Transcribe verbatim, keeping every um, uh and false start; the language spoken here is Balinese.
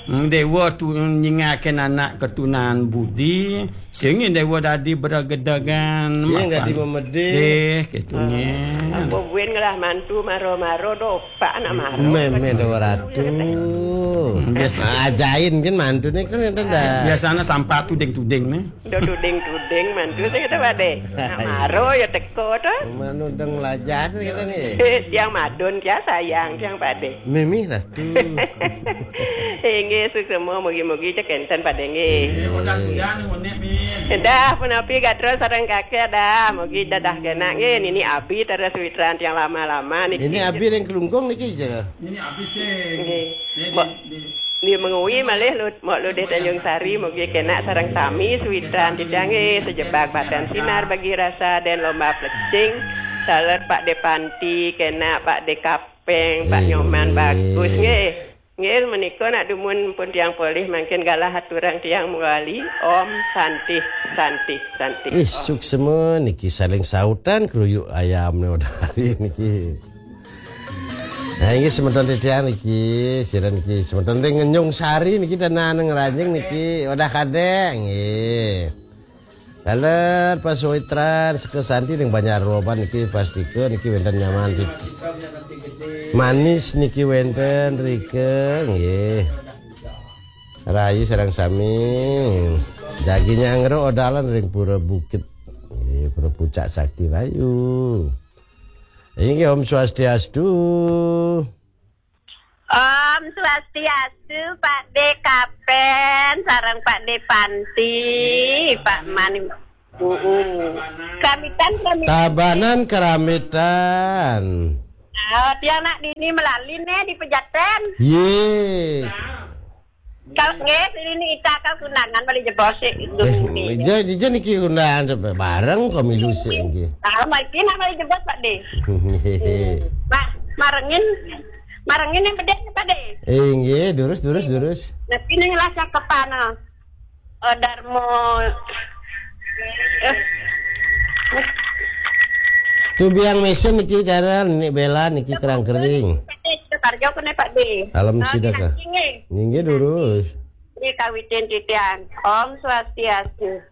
Hmm, dewa tu nyingakin anak ketunan budi, sing dewa dadi beregedegan, sing dadi memedih. Deh, gitu nyen. Apa buin ngelah mantu maro-maro dopak anak maro. Meme dewa ratu. Hmm, biasa. Ajain kan mantu ni kan enten dah. Biasanya sampah tuding-tuding ni. Udah tuding-tuding mantu sing kita pade. Nak maro ya teko tu. Manudeng lajar kita ni. Tiang madun tiang sayang tiang pade. Mimi ratu. Inggih, suksema mugi-mugi cekenten pade nggih. Eh, udah kuliah ni ngonek, Min. Dah punapi gatra sareng kakek dah. Mugi dadah kenak nggih. Nini abi terus witran tiang lama-lama niki. Ini abi yang kelungkung niki jera. Ini abi sing. Nggih. Ni mengui malih lu, Mok Ludih Tanjung Sari, mugi kenak sareng sami suwitran titiang nggih, sejebak batan sinar bagi rasa dan lomba plecing. Saler Pak De Panti, kenak Pak De Kapeng, Pak Nyoman bagus nggih. Nggih, menika nak dumun pun tiang polih mangkin galah aturang tiang mewali. Om Santi, Santi, Santi. Ih, suksema niki saling sautan keruyuk ayam ni udah hari niki. Nah, inggih semeton titiang niki, sira niki semeton ring Ngenyung Sari niki dan nang Ranjing niki udah kadek nggih. Laler pas witran sekesanti ring Banjar Roban niki pastika niki wenten nyaman niki. Manis niki wenten rike nggih. Rayu sareng sami. Jagi nyangro odalan ring Pura Bukit. Nggih, Pura Puncak Sakti Rayu. Inggih, Om Swastiastu. Om Swastiastu, Pak De Kapen, sareng Pak De Panti, Pak Mani. Mm-mm. Keramitan, keramitan. Tabanan keramitan. Oh, tiang nak dini melalin eh di Pejaten. Ye. Kalau nggih, ini ita kau kundangan balik jebos sih. Eh, ija, ija niki kundangan bareng kok milu sih nggih. Tahu mungkin nak balik jebos Pak De. Nggih. Nah, marengin, marengin yang bedek Pak De. Eh, nggih, durus, durus, durus. Tapi ini lah cakepana. Oh, Darmo. Eh. Tu biang mesen niki cara niki bela niki kerang kering. Pak De, kita tarjo kene Pak De. Alam sida ka. Nggih, nggih, durus. Di kawitin titiang. Om Swastiastu.